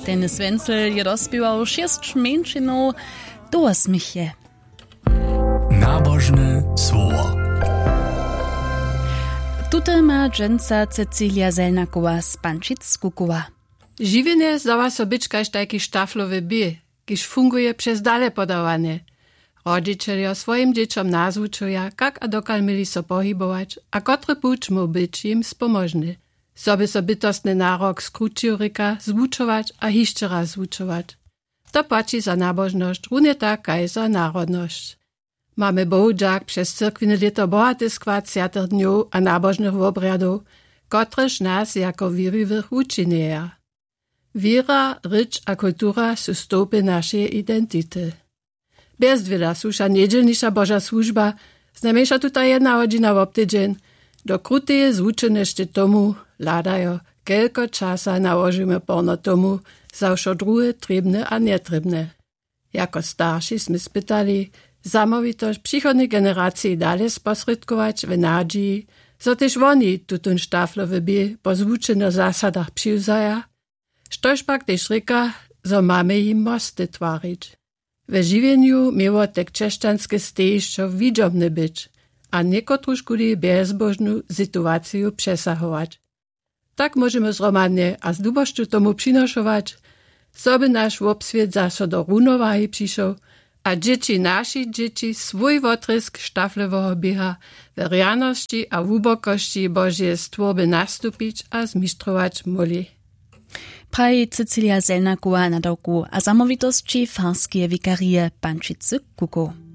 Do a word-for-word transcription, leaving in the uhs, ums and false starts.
Dennis Wenzel je dospěwał šěsć mjeńšinow. Tołosměch je. Nabožne słowo. Tute ma dźensa Cecilia Zelnakowa z Pančic skukowa. Žiwjenje zdawa so być kaž tajki štaflowy bě, kiž funguje přez dale podawanje. Rodźićeljo swojim dźěćom nazwučuja, kak a dokal měli so pohibować a kotry puć móhł być jim spomožny, zo by so bytostny narok skrućił, rěka, zwučować a hišće raz zwučować. To płaći za nabožnosć runje tak kaž za narodnosć. Mamy bohudźak přez cyrkwiny lěto bohate skład swjatych dnjow a nabožnych wobrjadow, kotrež nas jako wěriwych wučinjeja. Wěra, rěč a kultura su stołpy našeje identity. Bjezdwěla su wša njedźelniša boža słužba, znajmjeńša tuta jedna hodźina wobtydźeń, do kruteje zwučenosće tomu hladajo, kelko časa nałožimy porno tomu, za wšo druhe trěbne a njetrěbne. Jako starši smy spytali, zamołwitosć přichodnej generaciji dale sposrědkować w nadźiji, zo tež woni tutón štaflowy bě po zwučenych zasadach přiwzaja, štož pak tež rěka, zo mamy jim mosty twarić. We žiwjenju měło te křesćanske stejišćo widźobne być a někotružkuli bjezbóžnu situaciju přesahować. Tak móžemy zhromadnje a z dubošću tomu přinošować, zo by naš wobswět zaso do runowahi přišoł a dźěći našich dźěći swój wotrězk štafloweho běha we rjanosći a hłubokosći božeje stwórby nastupić a zmištrować móhli. Praji Cecilia Zelnakowa, nadawku a zamołwitosći farskeje wikarije Pančicy Kukow.